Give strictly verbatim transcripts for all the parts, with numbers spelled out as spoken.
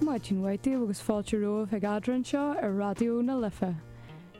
Maidin mhaith daoibh agus fáilte romhaibh chuig Eadra anseo ar Raidió na Life.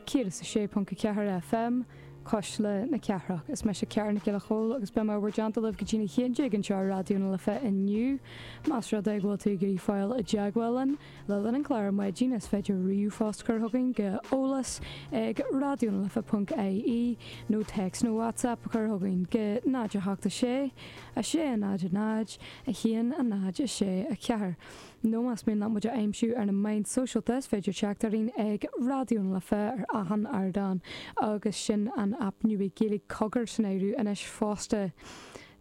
Céad is a sé ponc a ceathair FM, Cuisle na Cathrach. Is mise Ceara Nic Giolla Chóill agus beidh mé i bhur dteannta libh go dtí a haon déag anseo ar Raidió na Life inniu. Más rud é go bhfuil tú ag iarraidh fáil i dteagmháil linn le linn an chláir ar maidin is féidir ríomhphost a chur chugainn go eolas ag raidionalife.ie nó text nó WhatsApp a chur chugainn go náid a hocht a sé, a sé a náid a náid, a haon a náid a sé a ceathair. Nó más mian leat muid a aimsiú ar na meáin sóisialta is féidir teacht orainn ag Raidió na Life ar achan ardán agus sin an aip nua Gaeilge Cogar san áireamh anois fosta.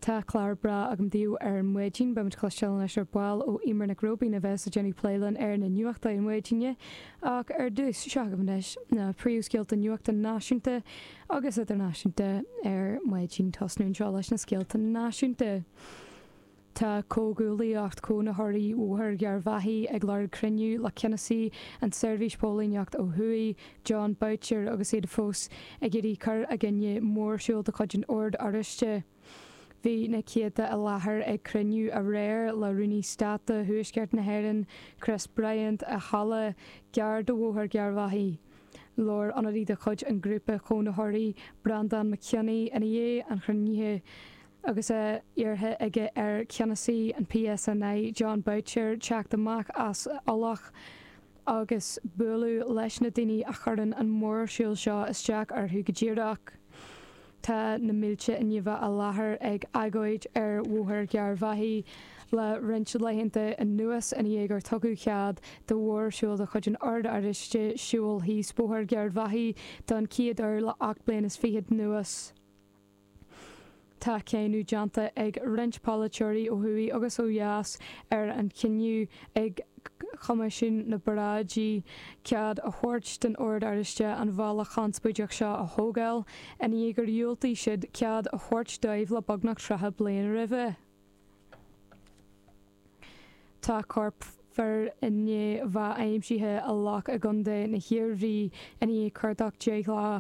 Tá clár breá agam daoibh ar maidin, beimid ag cloisteáil anois ar ball ó Eimear Nic Róibín a bheas ag déanamh plé linn ar na nuachtáin ar maidin, ach ar dtús seo agaibh anois na príomhscéalta nuachta náisiúnta agus idirnáisiúnta ar maidin tosnú anseo leis na scéalta náisiúnta. Tá comhghuaillíocht cónaitheoirí Bhóthar Gharbhachaidh ag lorg cruinniú le ceannasaí an tSeirbhís Póilíneacht ó thuaidh, Jon Boutcher agus iad fós ag iarraidh cur i gcoinne mórshiúl de chuid an Oird Oráistigh. Bhí na céadta i láthair ag cruinniú aréir le Rúnaí Stáit do Thuaisceart na hÉireann, Chris Bryant, i halla gar do Bhóthar Gharbhachaidh. Labhair ionadaí de chuid an ghrúpa chónaitheoirí, Breandán Mac Cionnaith, ina dhiaidh an chruinnithe. Agus é iarrtha aige ar cheannasaí an PSNI Jon Boutcher teacht amach as a fholach agus bualadh leis na daoine a chuireann an mórshiúl seo isteach orthu go díreach. Tá na mílte i ndiaidh bheith i láthair ag agóid ar Bhóthar Gharbhachaidh le roinnt laethanta anuas ina dhiaidh gur tugadh cead do mhórshiúl de chuid an Oird Oráistigh siúl thíos Bóthar Gharbhachaidh don chéad uair le ocht bliain is fichead anuas. Tá cáineadh déanta ag roinnt polaiteoirí ó thuaidh agus ó dheas ar an chinneadh ag Coimisiún na bParáidí cead a thabhairt don Ord Oráisteach an bhealach chonspóideach seo a thógáil, i ndiaidh gur dhiúltaigh siad cead a thabhairt dóibh le beagnach tríocha bliain roimhe. Tá corp fir i ndiaidh bheith aimsithe i loch i gContae na hIarmhí i ndiaidh cuardach deich lá.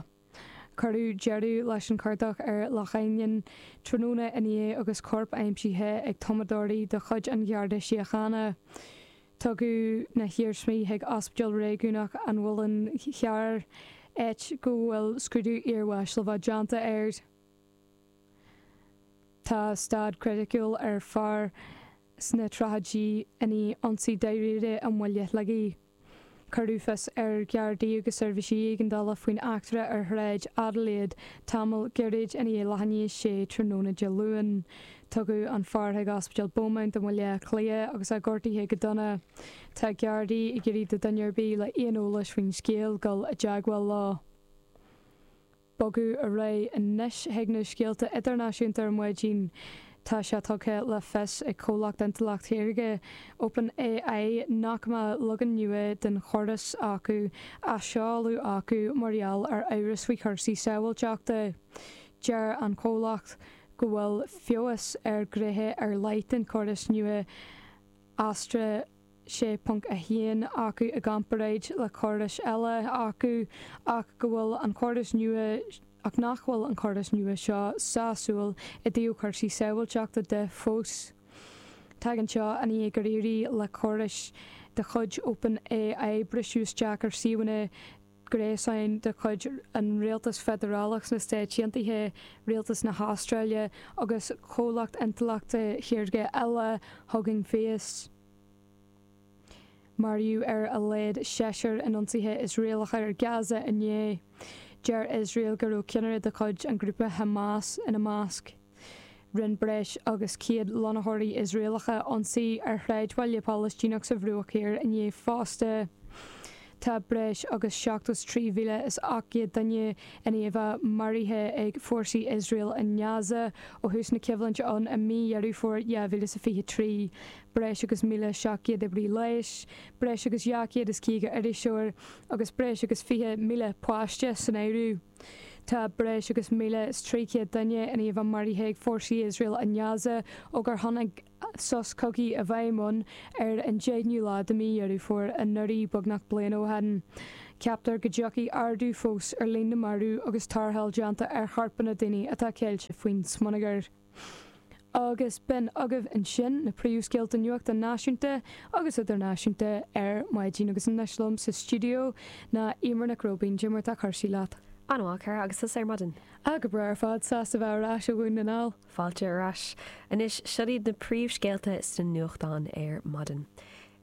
Cuireadh deireadh leis an chuardach ar Loch Ainnín tráthnóna inné agus corp aimsithe ag tumadóirí de chuid an Gharda Síochána. Tugadh na hiarsmaí chuig Ospidéal Réigiúnach an Mhuilinn Chearr, áit go bhfuil scrúdú iarbháis le bheith déanta air. Tá staid chriticiúil ar fear sna tríochaidí i ndiaidh ionsaí dáiríre i mBaile Shligigh. Cuireadh fios ar Ghardaí agus seirbhísí éigeandála faoin eachtra ar Shráid Adelaide tamall gairid i ndiaidh leath i ndiaidh a sé tráthnóna Dé Luain. Tugadh an fear chuig Ospidéal Beaumont i mBaile Átha Cliath agus é gortaithe go dona. Tá Gardaí ag iarraidh do dhuine ar bith le aon eolas faoin scéal dul i dteagmháil leo. Bogadh ar aghaidh anois chuig na scéalta idirnáisiúnta ar maidin. Tá sé tugtha le fios ag comhlacht intleacht shaorga OpenAI nach mbeidh leagan nua den chóras acu á seoladh acu mar gheall ar amhras faoi chúrsaí sábháilteachta. Deir an comhlacht go bhfuil feabhas ar ghnéithe ar leith den chóras nua Astra sé ponc a haon acu i gcomparáid le córais eile acu ach go bhfuil an córas nua ach nach bhfuil an córas nua seo sásúil i dtaobh cúrsaí sábháilteachta de fós. Tagann seo i ndiaidh gur éirigh le córais de chuid OpenAI briseadh isteach ar suíomhanna gréasáin de chuid an Rialtas Feidearálach sna Stáit Aontaithe, Rialtas na hAstráile agus comhlacht intleachta shaorga eile Hugging Face. Maraíodh ar a laghad seisear in ionsaithe Iosraelacha ar Gaza inné. Deir Iosrael go raibh ceannaire de chuid an ghrúpa Hamas ina measc. Rinne breis agus céad lonnaitheoirí Iosraelacha ionsaí ar shráidbhaile Palaistíneach sa Bhruach Thiar inné fosta. Tá breis agus seachtó trí mhíle is ocht gcéad duine i ndiaidh a bheith maraithe ag fórsaí Iosrael i nGaza ó thús na coimhlinte ann i mí Dheireadh Fómhair dhá mhíle is a fiche trí. Breis agus míle seacht gcéad oibrí leighis, breis agus dhá chéad is caoga iriseoir agus breis agus fiche míle páiste san áireamh. Tá breis agus míle is trí chéad duine i ndiaidh a bheith maraithe ag fórsaí Iosrael i nGaza ó gur tháinig sos cogaidh i bhfeidhm ann ar an deichiú lá de mhí Dheireadh Fómhair anuraidh, beagnach bliain ó shin. Ceaptar go dtiocfaidh ardú fós ar líon na marbh agus tarrtháil déanta ar chorpanna daoine atá ceilte faoin smionagar. Agus b'in agaibh ansin na príomhscéalta nuachta náisiúnta agus idirnáisiúnta ar maidin agus anois liom sa stiúideo ná Eimear Nic Róibín cad é mar tá cúrsaí leat. An-mhaith Cara agus tusa ar maidin. A go breá ar fad sásta bheith ar ais ó Dhún na nGall. Fáilte ar ais. Anois seo iad na príomhscéalta sna nuachtáin ar maidin.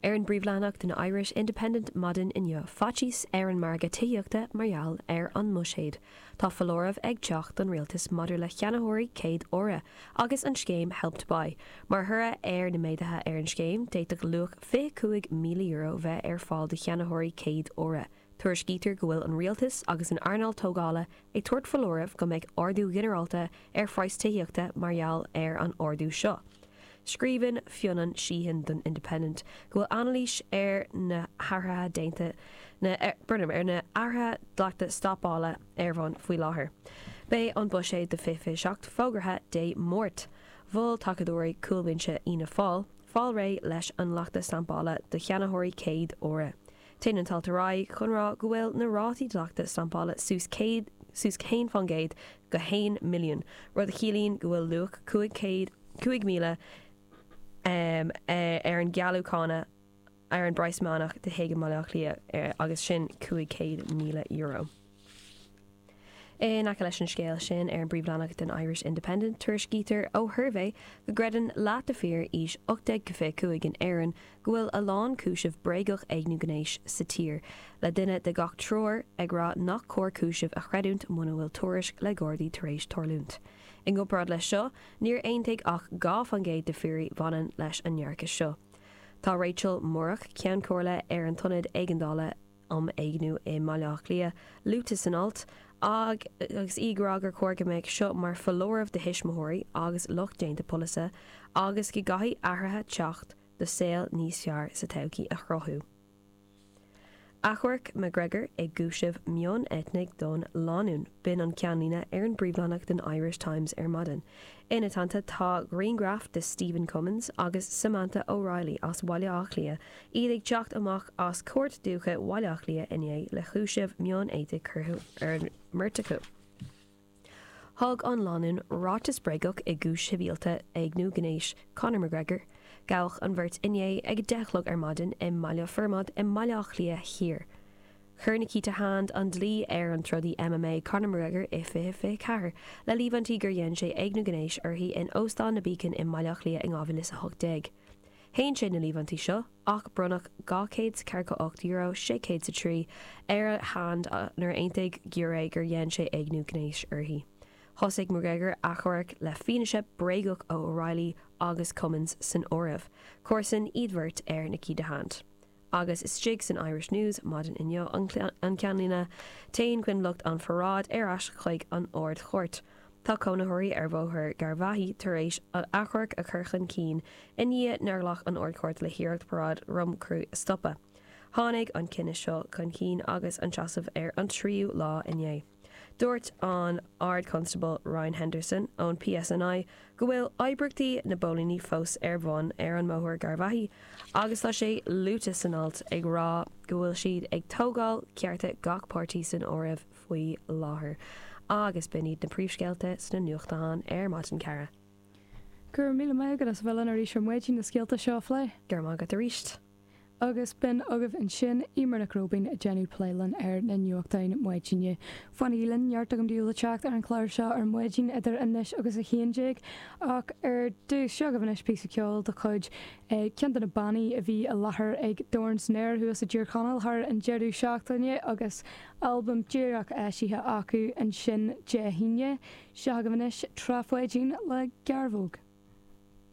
Ar an bpríomhleathanach den Irish Independent maidin inniu, faitíos ar an margadh tithíochta mar gheall ar an mbuiséad. Tá foláireamh ag teacht don rialtas maidir le ceannaitheoirí céad uaire agus an scéim Help to Buy. Mar thoradh ar na méaduithe ar an scéim, d'fhéadfadh luach fiche cúig míle euro bheith ar fáil do cheannaitheoirí céad uaire. Tuairiscítear go bhfuil an rialtas agus an earnáil tógála ag tabhairt foláireamh go mbeidh ardú ginearálta ar phraghas tithíochta mar gheall ar an ardú seo. Scríobhann Fionán Sheehan don Independent go bhfuil anailís ar na hathruithe déanta na Burnham ar na hathruithe dleachta stampála ar bun faoi láthair. Beidh an buiséad do fiche fiche seacht fógartha Dé Máirt. Mhol tacadóirí cúlbhinse Fhianna Fáil fáil réidh leis an dleacht stampála do cheannaitheoirí céad uaire. Téann an t-alt ar aghaidh chun rá go bhfuil na rátaí dleachta stampála suas céad suas haon faoin gcéad go haon milliún, rud a chiallaíonn go bhfuil luach cúig chéad cúig míle um, ar an gcealú cánach ar an bpraghas meánach de thigh i mBaile Átha Cliath agus sin cúig chéad míle euro. In aice leis an scéal sin ar an bpríomhleathanach den Irish Independent tuairiscítear ó shuirbhé go gcreideann leath de fhir aois ocht déag go fiche cúig in Éirinn go bhfuil a lán cúiseamh bréagach éigniú gnéis sa tír, le duine de gach triúr ag rá nach cóir cúiseamh a chreidiúint muna bhfuil tuairisc le Gardaí tar éis tarlúint. I gcomparáid leis seo, níor aontaigh ach dhá faoin gcéad de fhir bhaineann leis an ndearcadh seo. Tá Rachel Murrock Ceann Comhairle ar an tIonad Éigeandála um Éigniú i mBaile Átha Cliath luaite san alt, ag agus í ag rá gur chóir go mbeadh seo mar foláireamh do thuismitheoirí agus lucht déanta polasaithe agus go gcaithfidh athruithe teacht do saol níos fearr sa todhchaí a chruthú. Achomharc McGregor i gcúiseamh mioneitnigh don lánúin, b'in an ceannlíne ar an bpríomhleathanach den Irish Times ar maidin. Ina teannta tá grianghraf de Stephen Cummins agus Samantha O'Reilly as Bhaile Átha Cliath, iad ag teacht amach as Cúirt Dúiche Bhaile Átha Cliath inné le cúiseamh mioneitnigh curtha ar an mbeirt acu. Thug an lánúin ráiteas bréagach i gcúis shibhialta éigniú gnéis Conor McGregor. Gabhadh an bheirt inné ag a deich a chlog ar maidin i mBaile Formaid i mBaile Átha Cliath Thiar. Chuir Nikita Hand an dlí ar an trodaí MMA Conor McGregor i fiche fiche ceathair le líomhaintí gur dhein sé éigniú gnéis uirthi in Óstán na Beacon i mBaile Átha Cliath in dhá mhíle is a hocht déag. Shéan sé na líomhaintí seo ach bronnadh dhá chéad is ceathracha ocht euro sé chéad is a trí ar Hand nuair a aontaigh giúiré gur dhein sé éigniú gnéis uirthi. Thosaigh McGregor achomharc le fianaise bréagach ó O'Reilly agus Cummins san áireamh. Comharsan iad beirt ar Nikita Hand. Agus istigh san Irish News maidin inniu an ceannlíne téann coinbhleacht an pharáid ar ais chuig an Ard-Chúirt. Tá cónaitheoirí ar Bhóthar Garvaghy tar éis achomharc a chur chun cinn i ndiaidh nár ghlac an Ard-Chúirt le hiarracht paráid Dhroim Cru a stopadh. Tháinig an cinneadh seo chun cinn agus an seasamh ar an tríú lá inné. Dúirt an Ard-Constable Ryan Henderson ón PSNI go bhfuil oibríochtaí na bpóilíní fós ar bun ar an mBóthar Garvaghy agus tá sé luaite san alt ag rá go bhfuil siad ag tógáil cearta gach páirtí san áireamh faoi láthair. Agus b'in iad na príomhscéalta sna nuachtáin ar maidin Cara. Go raibh míle maith agat as bheith linn arís ar maidin na scéalta seo a phlé. Go raibh maith agat arís. Agus b'in agaibh ansin Eimear Nic Róibín ag déanamh plé linn ar na nuachtáin maidine. Fanaigí linn neart agam daoibh le teacht ar an chlár seo ar maidin idir anois agus a haon déag ach ar dtús seo agaibh anois píosa ceoil de chuid ceann de na bannaí a bhí i láthair ag Dorn san Aer thuas i dTír Chonaill thar an deireadh seachtaine agus albam díreach eisithe acu ansin Dé hAoine. Seo agaibh anois Trá Pháidín le Gearbhóg.